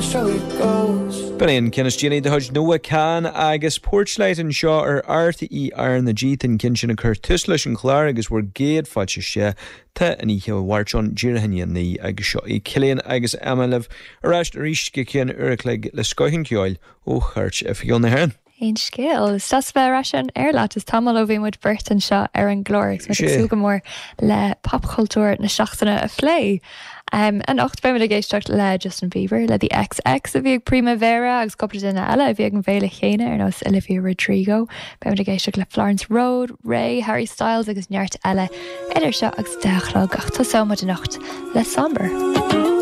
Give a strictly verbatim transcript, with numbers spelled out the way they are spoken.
That's how it goes. B'in é an ceann is déanaí de chuid Noah Kahan agus Porchlight anseo ar RTÉ RnaG an ceann sin a chuir tús leis an chlár agus bhur gcéad fáilte isteach tá an oíche Mháirt ann díreach i ndiaidh a naoi agus seo í Cillian agus Emma libh ar ais arís go ceann uair a chloig le scoth an cheoil ó Chairt Oifigiúil na hÉireann. Aon scéal Is deas bheith ar ais an aer leat is tamall ó bhí muid beirt anseo ar an gclár agus muid ag súil go mór le popchultúr na seachtaine a phlé. Um, anocht beimid ag éisteacht le Justin Bieber le The XX a bhí ag Primavera agus cúpla duine eile a bhí ag an bhféile chéanna ar nós Olivia Rodrigo. Beimid ag éisteacht le Florence Road, Raye, Harry Styles agus neart eile idir seo agus deich a chlog ach tosóimid anocht le Somber.